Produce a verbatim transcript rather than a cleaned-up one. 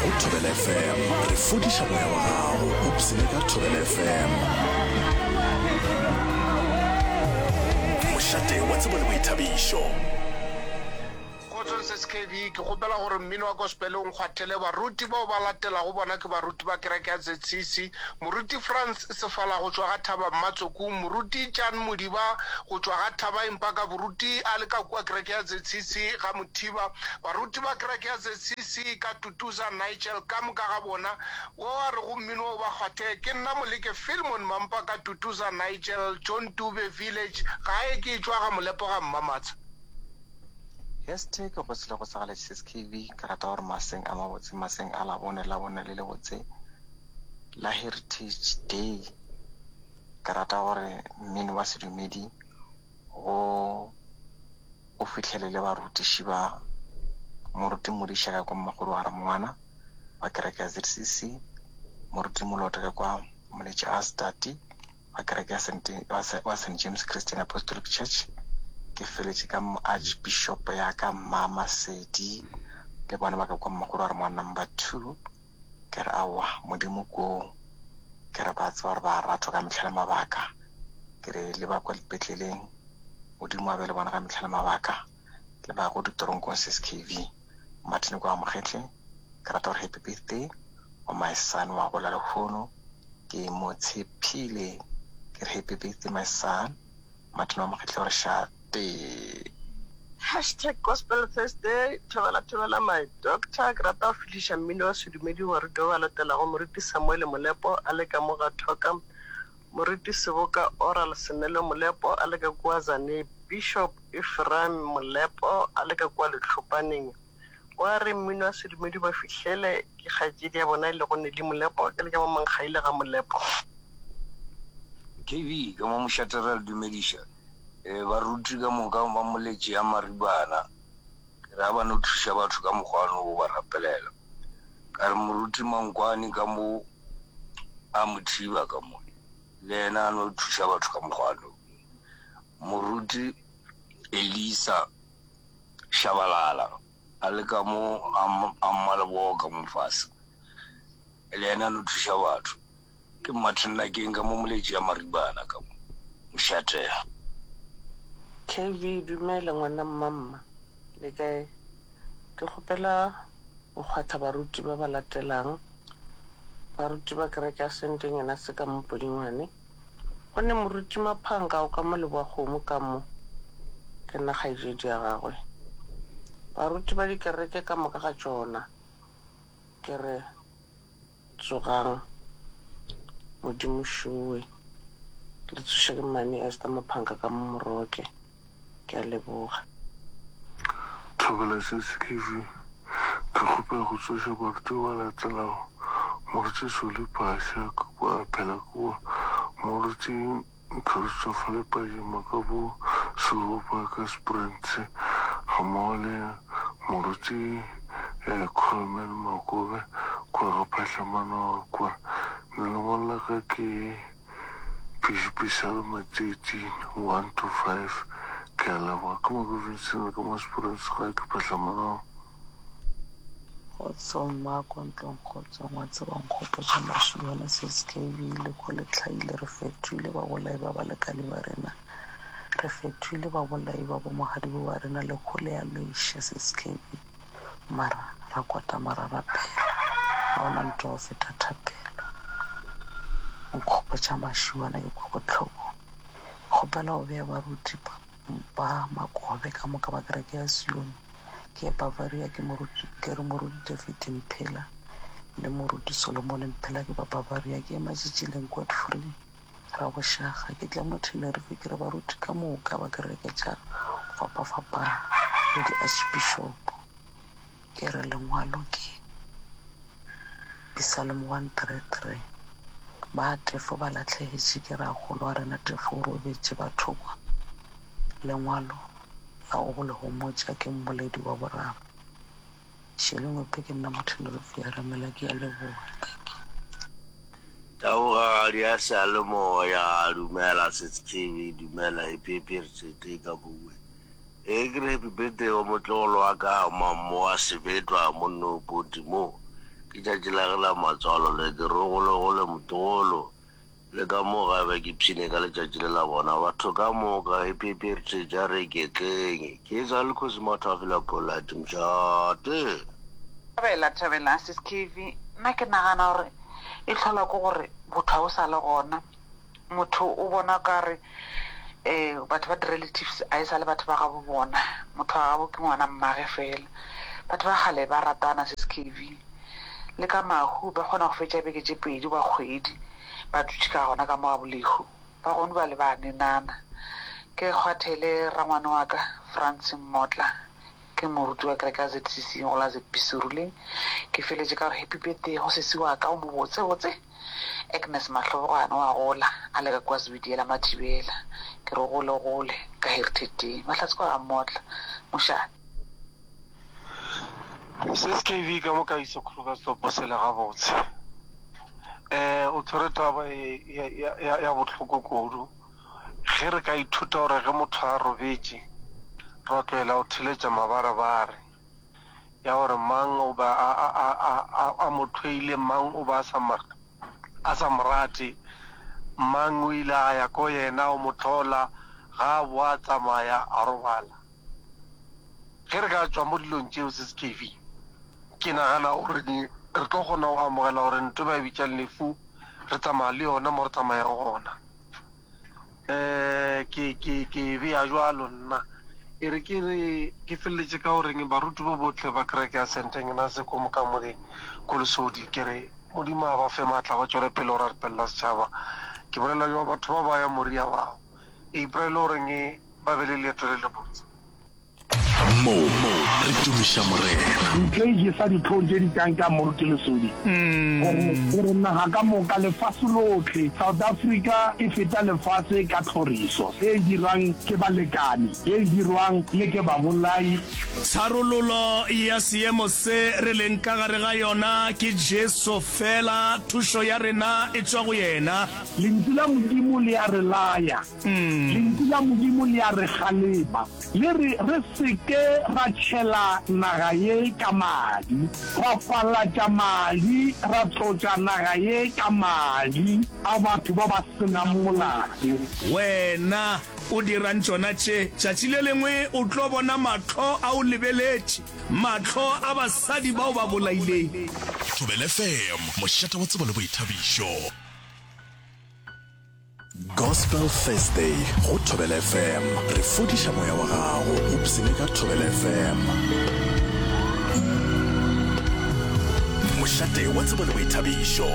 Go Thobela F M re fodiša moya wa gago. O psene ka Thobela F M, mošate wa tsebo le boithabišo. Kgotsong S K B, ke kgopela gore mmino wa gospel o nkgwathele baruti bao ba latelago. Bona ke baruti ba kereke ya Z C C: Moruti Frans Sefala go tšwa ga Thaba Mmatsoku, Moruti Jan Modiba go tšwa ga Thaba Empaka, boruti a le ka kua kereke ya Z C C ga Mothiba, baruti ba kereke ya Z C C ka Tutuza Nigel ka moka ga bona. Wo a re go mmino o ba kgwathe ke nna Moleke Filmon Mampa ka Tutuza Nigel, John Dube Village, gae ke tšwa ga Molepo ga Mmamatsa. Hashtag go sele go sagale S K B. Ke rata gore maseng a mabotse, maseng a Labone, Labone le lebotse la Heritage Day, ke rata gore mmino wa sedumedi go o fihlelele barutiši ba Moruti Modiša ka kwa Mmagolo wa Ramongwana wa kereke ya Z C C, Moruti Moloto ka kwa Moletše a Stati wa kereke ya wa Saint James Christian Apostolic Church. Ke feletše ka Archbishop ya ka Mama Sedi le bona ba ka kwa Mmagolo wa Ramongwana number two. Ke re aowa, Modimo koo. Ke re ba tseba gore ba ratwa ka mehla le mabaka. Ke re le ba kwa dipetleleng, Modimo a be le bona ka mehla le mabaka, le ba go ditoronkong. S K B Martin kwa Mogetle, ke rata gore happy birthday wa my son wa gola lehono, ke mo tshepile. Ke re happy birthday, my son Martin wa Mogetle, gore šate. Hashtag gospel Thursday. Thobela, thobela my doctor. Ke rata go fihliša mmino wa sedumedi wa baruti ba ba latelago: Moruti Samuel Molepo a le ka mo ga Thoka, Moruti Seboka Oral Senelo Molepo a le ka kua Zane, Bishop Ephraim Molepo a le ka kua Letlhopaneng. Wa re mmino wa sedumedi ba fihlele ke kgaetšedi ya bona e lego Neli Molepo, ke le ka mo Mankgaile ga Molepo. K B ka mo mošate, re a le dumediša um baruti ka moka ba Moletše ya Maribana. Ke re a ba no thuša batho ka mokgwa o ba rapelela. Ka re Moruti Mankwane ka mo a Mothiba ka mo, le yena a no thuša batho ka mokgwa. Moruti Elisa Shabalala a le ka mo a Mmalebogo ka mo fase, le yena a no thuša batho. Ke Martin Nakeng ka mo Moletši ya Maribana ka mo mošate. K B, dumela ngwana mmamma, le kae? Ke kgopela go kgwatha baruti ba ba latelang: baruti ba kereke ya Sentenyana se ka mo Podingwane, go ne Moruti Maphanka o ka mo Leboa-kgomo ka mo, ke nna kgaetšedi ya gagwe. Baruti ba dikereke ka moka ga tšona, ke re tsogang, Modimo šowe le tsoše. Ke Mmane Esther Maphanka ka mo Moroke, ke a leboga. Thobela S K B, ke kgopela go tsoša baruti ba latelago: Moruti Soli Phasha kwa phela kua, Moruti Christopher Lepajima ka bo Seropa ka Springs, ga mmogo le Moruti um Coleman Makobe kua ga Phatlhamanoga kua. Lengwalo la ka ke Psalm thirteen one to five. Ke a leboga. Ke Mako Vincent ka mo Springs, ga ke Phatlhamanoga. Kgotsong mmako ntlong, kgotsong. Wa tseba, nkgopotša mašuana S K B le ko le tlhaile. Re fetoile babolai ba balekane ba rena, re fetoile babolai ba bomogadibo ba rena. Le kgole ya loiša S K B, mara ra kwatama ra rapela. Ga ona ntho go feta thapelo. Nkgopotša mašuana, ke kwa bohloko. Kgopela go bea baruti ba Makobe ka moka ba kereke ya Sione ke Bavaria. Ke moruti, ke re Moruti David Mphela le Moruti Solomon Mphela, ke ba Bavaria. Ke Ematšitšileng Godfrey Rabošaga. Ke tla mo Tenerife. Ke re baruti ka moka ba kereke tša fapafapana le di-archbishop, ke re lengwalo ke Psalm one three three. Ba Tefo ba lahlegetše, ke rakgolo wa rena Tefo o robetše bathokwa. Lengwalo la go le homotša ke Mmoledi wa boraro Šelengwepe. Ke nna Motho ya Ramela, ke a leboga, thank you. Taugadi ya seyalemoya, dumela S K B, dumela, happy birthday ka bue. E ke re happy birthday wa motlogolo wa ka Mammo wa Sebetwa monno poti mo. Ke tšatši la ge la matswalo le ke re gole gole motlogolo le ka mo gae ba ke pshine ka letšatši le la bona batho ka moka happy happy heritage a re iketleng ke sa le kgosi mathafela polite mošate. Thabela thabela sis Kevy nna ke nagana gore e tlhola ke gore botho ga o sa le gona motho o bona kare um batho ba di-relatives a e sa le batho ba gabo bona motho wa gabo ke ngwana mmage fela batho ba kgale ba ratana sis Kevy le ka mahu ba kgona go fetša beke tše pedi ba kgwedi ba dutše ka gona ka mo ga bolehu ba gone ba le ba nenana ke kgwathele rangwane wa ka France Mmotla ke moruti wa kereke ya Z C C go la Z B Seruleng ke feletše ka gore happy birthday go sesi wa ka o mo botse botse Agnes Mahlobogwane wa gola a le ka kwa Zwidiela Mathibela ke re gole gole ka Heritage Day mahlatse kwa ga Mmotla mošate. Sis K V ka mo ka iso Krugersdorp o sele gabotse. Eh o tshwere taba e ya ya ya bohloko kudu. Ge re ka ithuta gore ge motho a robetše ra tlohela go theletša mabarebare ya gore mang o ba a a a a a a mo hloile, mang o ba a sa mo a sa mo rate, mang o ile a ya ko yena o mo hlola ga a boa a tsamaya a robala. Ge re ka tšwa mo dilong tšeo Sis K V ke nagana gore re tlo kgona go amogela gore ntho ba e bitšang lefu re tsamaya le yona mo re tsamayago gona. Um ke ke ke e bea jwalo nna e re ke re ke feleletše ka goreng baruti bo botle ba kereke ya Saint Agnes ko Mokamoleng ko Lesodi ke re Modimo a ba fe maatla ba tšwele pele go rapelela setšhaba. Ke bolela jwa batho ba ba ya Moria bao April goreng ba be le leeto le lebotse. Mo re tumiša Morena. Ntho e jesa dihlong tše di tlang ka Moruti Lesodi, gore, gore naga ka moka, lefase lohle, South Africa e feta lefase ka tlhoriso e dirwang ke balekane, ye e dirwang le ke babolai. Tharollo ya seemo se re leng ka gare ga yona ke Jesu fela, thušo ya rena e tšwa go yena. Lentšu la Modimo le a re laya. Lentšu la Modimo le a re kgalema. Le re re se ke ra tšhela naga ye ka madi, ra falatša madi, ra tlotša naga ye ka madi a batho ba ba se nang molato. Wena o dirang tšona tše? Tšatši le lengwe o tlo bona mahlo a o lebeletše, mahlo a basadi bao ba bolaileng. Thobela F M, mošate wa tsebo le boithabišo. Gospel Thursday go Thobela F M. Re fodiša moya wa gago, o pshine ka Thobela F M. Mošate wa tsebo le boithabišo.